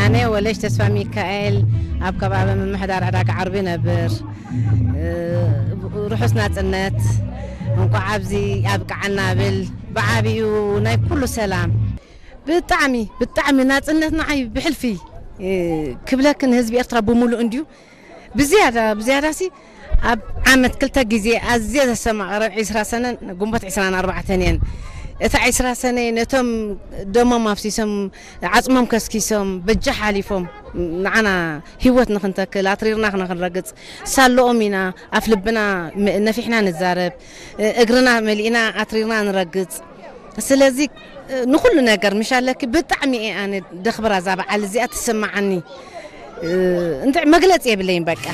ኣነ ወለሽ ተስፋ ሚካኤል ኣብ ከባቢ ምምሕዳር ዕዳጋ ዓርቢ ነብር። ርሑስ ናጽነት፣ እንቋዕ ኣብዚ ኣብቅዓና ብል። ብዓቢኡ ናይ ኩሉ ሰላም። ብጣዕሚ ብጣዕሚ ናጽነት ንዓይ ብሕልፊ ክብለክን ህዝቢ ኤርትራ ብምሉእ እንድዩ። ብዝያዳ ብዝያዳሲ ኣብ ዓመት ክልተ ግዜ ኣዝየ ዘሰማቕረን ዕስራ ሰነን ግንቦት ዕስራን ኣርባዕተን እየን። እታ ዕስራ ሰነ ነቶም ደሞም ኣፍሲሶም ዓጽሞም ከስኪሶም በጃ ሓሊፎም ንዓና ህይወት ንኽንተክል ኣትሪርና ንኽንረግጽ ሳለኦም ኢና ኣፍ ልብና ነፊሕና ንዛረብ፣ እግርና መሊእና ኣትሪርና ንረግጽ። ስለዚ ንኹሉ ነገር ምሽ ኣለኪ ብጣዕሚ እየ ኣነ ደኽብራ እዛ በዓል እዚኣ ትስምዓኒ። እንተ መግለጺ የብለይን በቃ።